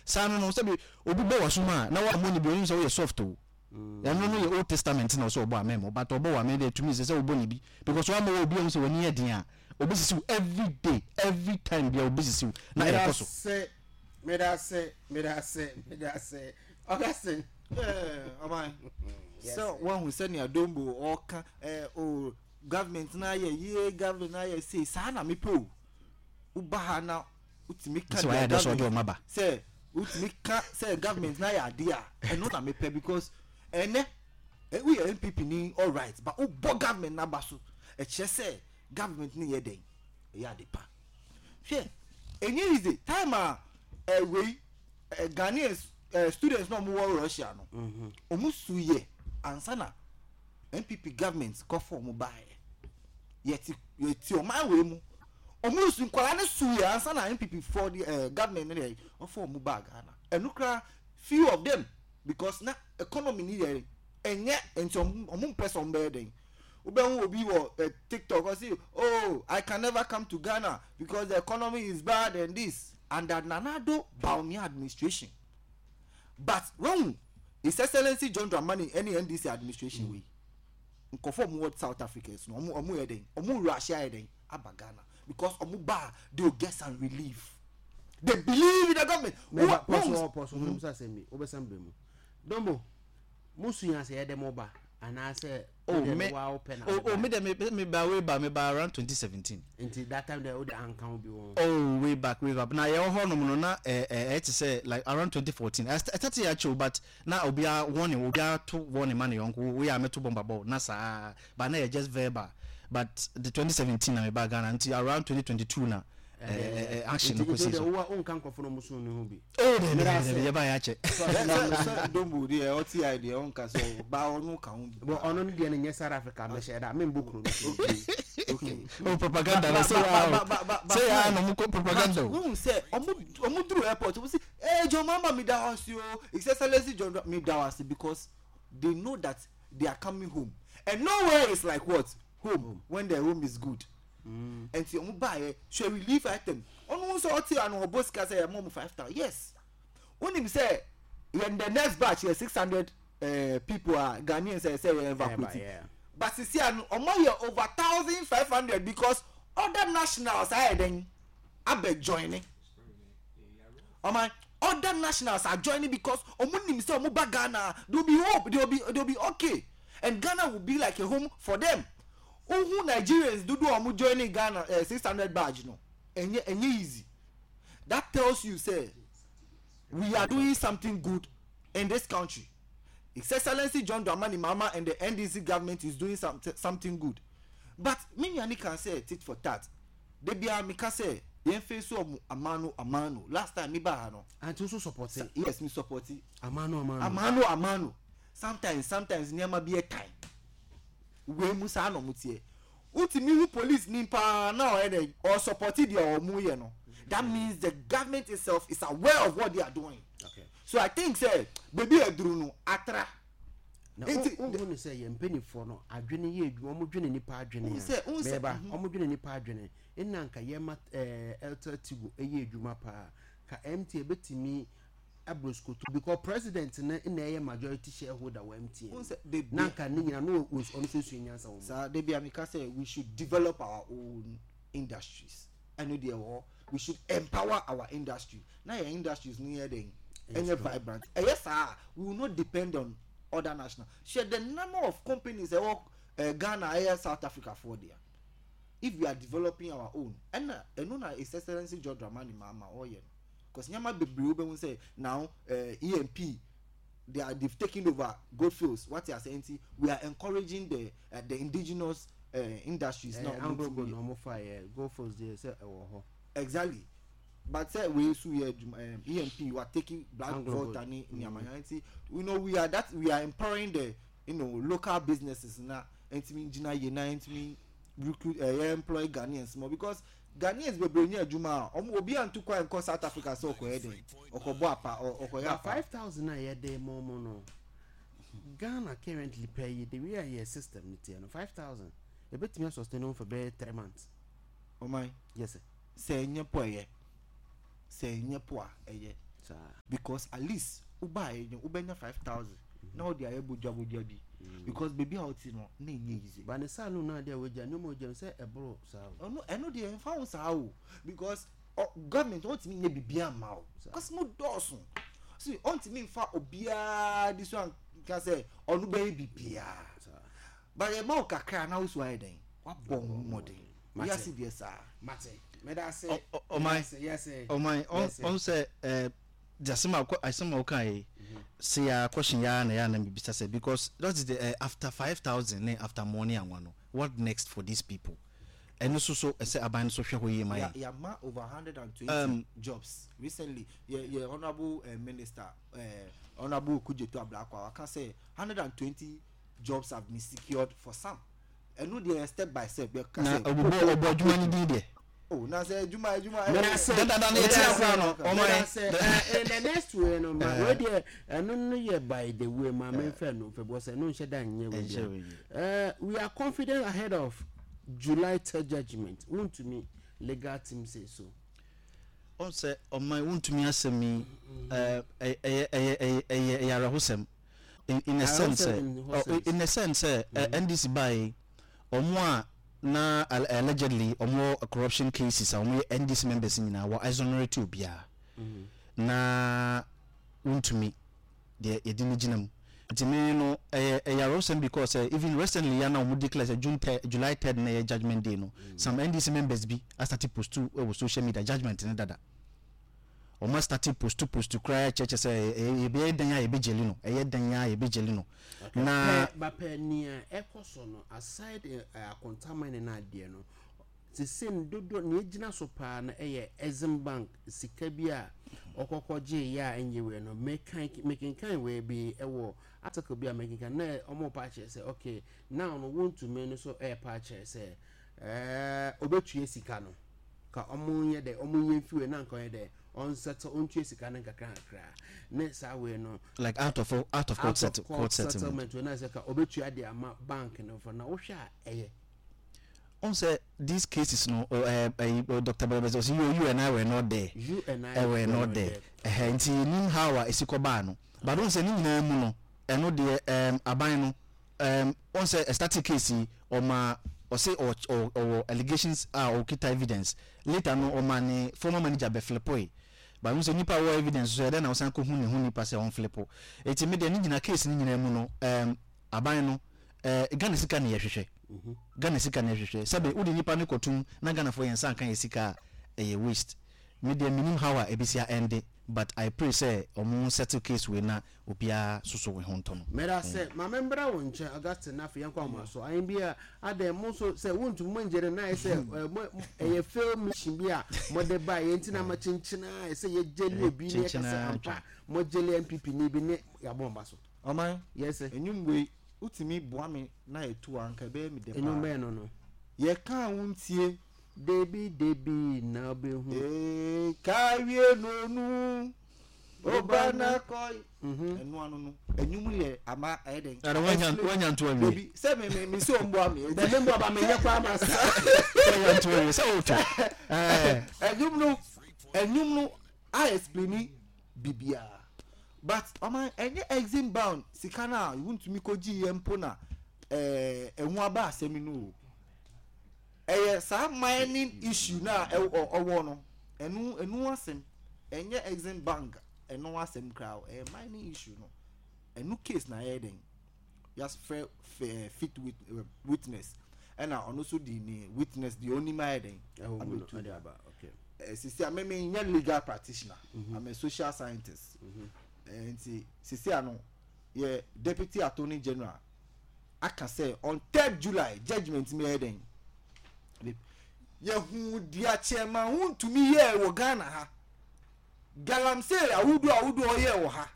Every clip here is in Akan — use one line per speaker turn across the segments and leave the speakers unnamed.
Saa no no sɛbi obi bɔ w'asom a na woammɔ no bi onim sɛ woyɛ soft o. Ɛno no yɛ old testament na ɔsɛ ɔbɔ a mɛmmɔ but ɔbɔ wo a me deɛ to me ɛsɛ sɛ wobɔ no bi because woammɔ wo a obi ahu sɛ w'ani yɛ den a obɛsisi wo every day every time biara obɛsisi wo na ɛkɔ so.
Medase medase medase medase Augustine.
Ɔman sɛ wahu sɛnea Dombo ɔka eh, oh, government na ayɛ yie government na ayɛ sei saa na mepɛ o woba ha na wotumi ka
Sɛ wayɛ
deɛ
adeɛ sɛ ɔde
government
ɔma ba.
sɛ wotumi ka sɛ government na ayɛ adeɛ a ɛno na mepɛ because ɛnɛ eh, woyɛ NPP ni alright but wobɔ government n'aba so ɛkyerɛ sɛ government no yɛ dɛn ɛyɛ ade pa hwɛ ɛnyɛ easy time a ɛwei eh, Ghanaians eh, students na wɔn wɔ Russia no wɔn su yɛ ansa na NPP government kɔfɔ wɔn baayɛ yɛte yɛte ɔman wei mu wɔn su nkwadaa no su yɛ ansa na NPP fɔ de eh, government no deɛ ɔfɔ wɔn baa Ghana ɛno koraa few of them because na economy ni yɛ ɛnyɛ nti wɔn wɔn mpɛ sɛ wɔn bɛyɛ dɛn wobɛhu obi wɔ eh, TikTok ɔsi oh I can never come to Ghana because the economy is bad and this under Nana Addo Bawumia administration but wahu His Excellency John Dramani ɛne NDC administration wei nkɔfo ɔmo wɔ South Africa no ɔmo ɔmo yɛ dɛn ɔmo wura ahyɛ ayɛ dɛn aba Ghana because ɔmo ba they will get some relief they believe in the government.
Mɛba pɔso pɔso mo musa sɛm bi wobɛsan bɛ mu Dombo mo sua sɛ yɛde mo ba anaasɛ
Oh me oh oh me deɛ me me ba way back me ba around 2017.
Nti that time deɛ wode anka ho bi wɔ ho.
Oh way back way back na yɛwɔ hɔ nom no na ɛɛ ɛyɛ te sɛ like around 2014 I started yɛ akyɛ o but na obiara warning obiara to warning ma ne yɔnko woyɛ a mɛto bɔmba bɔ na saa but na yɛ just verbal but the 2017 na me ba Ghana nti around 2022 na ɛɛ action no kɔsi so.
Nti wo nka nkurɔfo no ɔmo so ne ho bi.
Oh dabi dabi dabi yɛba yɛ akyɛ.
Sɛ Dombo deɛ ɔte ayɛ deɛ ɔnka sɛ ɔba ɔno ka ho bi.
Bɔ ɔno no deɛ no nyɛ South Africa mɛhyɛ da membɔ kuro no.
Okay okay.
Oh propaganda na sɛ yaa sɛ yaa na ɔmo kɔ propaganda o.
Wohu sɛ ɔmo ɔmo duru airport ɔmo si ee John Mahama mi da wo ase o His Excellency John mi da wo ase because they know that they are coming home and nowhere is like what home when the home is good. Nti ɔmo baayɛ hwɛ relief item ɔno nso ɔte ano ɔbɔ sika sɛ yɛma ɔmo 5,000 yes wonim sɛ yɛn the next batch yɛ 600 uh, people a Ghanaians sɛ sɛ yɛ evacuate but sisi ano ɔmo ayɛ over 1,500 because other nationals ayɛ dɛn abɛ join ɔman other nationals are joining because ɔmo nim sɛ ɔmo ba Ghana they will be hope they will be okay and Ghana will be like a home for them. Wohu Nigerians dodoɔ a wɔn joine Ghana eh, 600 badge no, ɛnyɛ ɛnyɛ easy. That tells you sɛ we are doing something good in this country. His Excellency John Dramani Mahama and the NDC government is doing some, something good. But me nua ni kan sɛ tit for tat. Da biara meka sɛ yɛn face wɔn amano amano. Last time me baa ha no.
Anti nso support.
Yes, me support.
Amano amano.
Amano amano. Sometimes sometimes nneɛma bi yɛ tan. Wei mu saa na ɔmo teɛ. Wotumi hu police ni paa na ɔyɛ dɛn ɔsupporti deɛ ɔmo yɛ no. That means the government itself is aware of what they are doing.
Okay.
So I think sɛ beebi a aduru no atra.
Na
Nti
wohu no sɛ yɛn mpanimfoɔ no adwene yɛ adwuma, wɔn dwene nipa adwene
Wohu
a
sɛ wohu sɛ
mɛba
mhm.
wɔn dwene nipa adwene nna nka yɛma ɛɛ Airtel Tigo ɛyɛ adwuma paa ka MTN ebetumi abroskoto because president no na ɛyɛ majority shareholder wɔ MTN
Wohu sɛ de
na
de
nka ne nyina no ɔno nso esua nyansa wɔ mu.
Saa da bi a meka sɛ we should develop our own industries ɛno deɛ wɔ hɔ we should empower our industry na yɛn industries no yɛ dɛn ɛnyɛ vibrant ɛyɛ saa a we will not depend on other national hwɛ the number of companies ɛwɔ eh, Ghana ɛyɛ South Africa foɔ dea if we are developing our own ɛna ɛno na His Excellency John Dramani Mahama ɔyɛ no because nneɛma bebree wobɛhu sɛ now eh, EMP they are they've taken over gold fields what you are saying nti we are encouraging the uh, the indigenous uh, industries na
ɔmo
Anglo
Gold na ɔmo fa yɛ gold fields deɛ sɛ ɛwɔ hɔ.
Exactly but sɛ wei nso yɛ adwuma um, EMP we are taking Black
Anglo
Volta
Gold.
ne nneɛma mm. nti you know we are that we are empowering the you know local businesses na ntumi gyina yie na ntumi recruit ɛyɛ uh, employ Ghanaians more because Ghanaians bebree nyɛ adwuma a ɔmo obi antu kwan nkɔ South Africa sɛ ɔkɔyɛ dɛn ɔkɔbɔ apa ɔkɔyɛ
But
apa.
5,000 a yɛde ma ɔmo no, Ghana currently pɛ yi, the way a yɛ system no teɛ no, 5,000 ebetumi asustain wɔn for bɛyɛ 3 months.
Ɔman
Yes sir.
Sɛ ɛnyɛ po ɛyɛ sɛ ɛnyɛ po a ɛyɛ. Because at least wobaeɛ no wobɛnya 5000 na wode ayɛ bodwabodwa bi because baabi a wote no na ɛnyɛ easy.
Ba ne saloon no adeɛ a wagya nneɛma a wagya no sɛ ɛboro saa o.
Ɔno ɛno deɛ ɛmfa ho saa o because ɔ government ɔntumi nyɛ biribiara mma wo because mo dɔɔso see ɔntumi nfa obiara di so anka sɛ ɔno bɛyɛ biribiara but ɛma wo kakra na wo so ayɛ dɛn wabɔ wo ho mmɔden wiase deɛ saa.
Mate meda ase.
Ɔman ɔman ɔn sɛ ɛɛ de asɛm a asɛm a ɔka yi se ya question ya na ya na mebisa sɛ because that is the uh, after 5,000 ne after money anwa no what next for these people ɛno so so ɛsɛ aban no so hwɛ hɔ yie ma yɛn.
Yɛama over 120 jobs recently yɛ yɛ honourable uh, minister uh, honourable Okudzeto Ablakwa waka sɛ 120 jobs have been secured for some ɛno deɛ step by step yɛ
kasa. Na ɔbɔ ɔbɔ adwuma no din deɛ.
Oh, na sɛ adwuma adwuma.
Mɛdase
dadada na eti akora no ɔmo
yɛ. Mɛdase in the next way no ma wei deɛ ɛno no yɛ by the way ma me nfɛ no nfɛ because ɛno nhyɛ da nyɛ wei deɛ. Eh, we are confident ahead of July 3rd judgement wontumi legal team say so.
Ɔn sɛ ɔman wontumi asɛm yi ɛyɛ ɛyɛ ɛyɛ ɛyɛ ɛyɛ awerɛhosɛm in in a sense sɛ in a sense sɛ NDC baa yi ɔmo a na allegedly ɔmo wɔ corruption cases a ɔmo yɛ NDC members nyinaa wɔ exonerate obiara na wontumi deɛ yɛde no gyina mu nti me no ɛyɛ ɛyɛ awerɛhosɛm because sɛ even recently ya na wɔn declare sɛ June third July 3rd na ɛyɛ judgement day no some NDC members bi asate post wɔ social media judgement no dada wɔn asate post post koraa kyerɛkyerɛ sɛ ɛyɛ yɛbɛyɛ dan a yɛbɛgyeli no ɛyɛ dan a yɛbɛgyeli no na.
Bapɛ nea ɛkɔ so no aside akontaman ne adeɛ no Sesei no dodoɔ nea egyina so paa no yɛ Exim Bank sika bi a ɔkɔkɔ gyee yɛ a ɛnyɛ wei no. Mekan mekenkan wei bi wɔ article bi a mekenkan na wɔn pa akyerɛ sɛ okay now no wontumi no so ɛrepa akyerɛ sɛ ɛɛ obetua sika no ka wɔn nyɛ dɛ wɔn nyɛ mfi wei na nka ɔyɛ dɛ ɔnsɛtɛ ɔntua sika no nkakra nkakra ne saa wei no.
Like out of court, out of court settlement.
Wei na sɛ ka obetua de ama bank no fo na wohwɛ a ɛyɛ.
Wohu sɛ these cases no eh, eh, Dr. Bɛrɛbɛsɛ ɔsɛ you, you and I were not there.
You and I
eh, were not there. Ɛhɛ nti yɛnim how a ɛsi kɔbaa no. But wohu sɛ ne nyinaa mu no, ɛno deɛ um, aban no um, wohu sɛ ɛstarte case yi ɔma ɔse ɔwɔ allegations a ɔkita evidence. Later no ɔma ne former manager bɛflipoe. But wohu sɛ nipa a ɔwɔ evidence so ɛdɛn na wosan kɔhu ne ho nipa sɛ ɔnflipo. Enti me deɛ ne nyinaa case no nyinaa mu no um, aban no eh, Ghana sika na yɛhwehwɛ. Ghana sika na yɛhwehwɛ. Sɛbe wode nipa no kɔtum na Ghanafoɔ yɛn nsa nka yɛ sika a, ɛyɛ waste. Me deɛ mennim how a ɛbɛsi a ɛnde but I pray sɛ ɔmo settle case wei na obiara soso ne ho ntɔ no.
Medase, ma me mbra wo nkyɛn Augustine na afei yɛnkɔ ahoma so. Ahen bi a adɛn mo nso sɛ wontumi mo ngyere na ayɛ sɛ mo ɛyɛ fail mission bi a mode baeɛ nti na ama kyenkyena a ɛsɛ yɛgyeli obi ne yɛka sɛ ampa mogyeli NPP ni bi ne yɛabɔ mo ba so.
Ɔman,
Yes sir.
Nnwom wei wotumi boa me na yɛtu a anka ɛbɛyɛ me dɛ paa.
Nnwom bɛn no no?
Yɛka a wontie.
Debi debi na wobɛhu.
Ee, kawie nonu, oba na kɔi. Ɛno ano no, nnwom yɛ ama ɛyɛ dɛn?
Ɛna wanya wanya nto awie.
Debi sɛ me me me sɛ ɔmboa me.
Dɛ me mboa ba menyɛ koraa ma sa.
Wanya nto awie sɛ wotwa. Ɛɛ.
Nnwom no, nnwom no a explaini biribiara. But ɔman ɛnyɛ exim bound sika no a wontumi kɔgye yɛ mpo na ɛɛ ɛho aba asɛm no o. Ɛyɛ saa mining issue no a ɔwɔ no ɛno ɛno asɛm ɛnyɛ exim bank ɛno asɛm koraa o ɛyɛ mining issue no ɛno case na ɛyɛ den yɛafrɛ fit witness ɛna ɔno nso di ne witness deɛ ɔnim ayɛ den abɛtu sisi a meme nyɛ legal practitioner mm -hmm. I'm a social scientist mm -hmm. nti sisi a no yɛ deputy attorney general aka sɛ on 3rd July judgement mi yɛ den yɛhu deɛ chairman ho ntumi yɛɛ wɔ Ghana ha galamsey ahodoɔ ahodoɔ ɔyɛɛ wɔ ha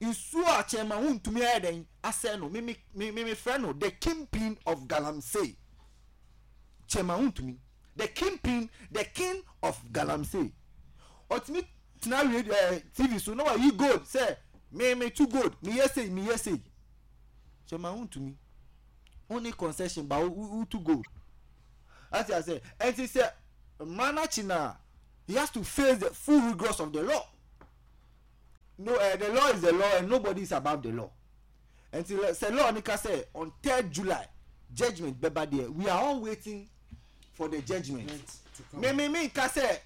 nsuo a chairman ho ntumi ayɛ den asɛ no meme meme frɛ no the kingpin of galamsey chairman ho ntumi the kingpin the king of galamsey ɔtumi tena radio ɛɛ eh, tv so na wayi gold sɛ me me tu gold me yɛ sei me yɛ sei chairman ho ntumi wonni concession ba wo tu gold ati ase ɛnti sɛ mmara n'akyi na he has to face the full rigors of the law. No eh, the law is the law and nobody is above the law. Nti sɛ law no ka sɛ on third July judgement bɛba deɛ, we are all waiting for the judgement. Me me me nka sɛ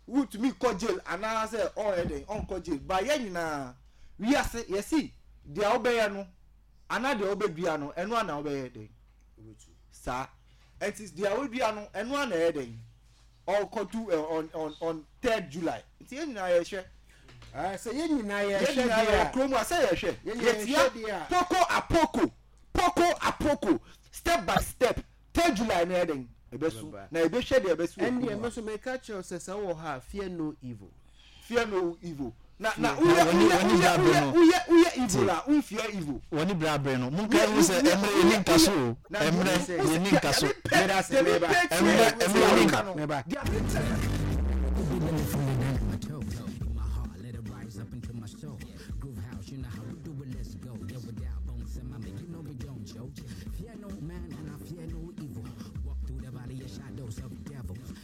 wotumi kɔ jail anaasɛ ɔyɛ dɛn ɔnkɔ jail, ba yɛn nyinaa wiase yɛsi deɛ wobɛyɛ no anaa deɛ wobɛdua no ɛno ana wobɛyɛ dɛn saa. Nti deɛ wodua no ɛno ana ɛyɛ dɛn ɔkɔtu eh, on on on third July. Nti yɛn nyinaa yɛhwɛ.
Ah, sɛ yɛn nyinaa yɛhwɛ
yɛn nyinaa yɛwɔ kurom a sɛ yɛhwɛ yɛtia poko apoko poko apoko step by step third July no yɛ dɛn ɛbɛso na yɛbɛhwɛ deɛ ɛbɛso wɔ kurom
ɛndeɛ me so meka kyerɛ sɛ sɛ wowɔ hɔ a fear no evil.
Fear no evil na na woyɛ woyɛ woyɛ woyɛ woyɛ woyɛ evil a won fear evil.
Wɔne bere abere no monka ehu sɛ ɛmmerɛ yɛni nka so o ɛmmerɛ yɛni nka so ɛmmerɛ ɛmmerɛ yɛni nka.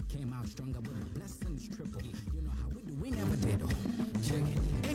Came out stronger with my blessings triple. You know how we do, we never did. Check it.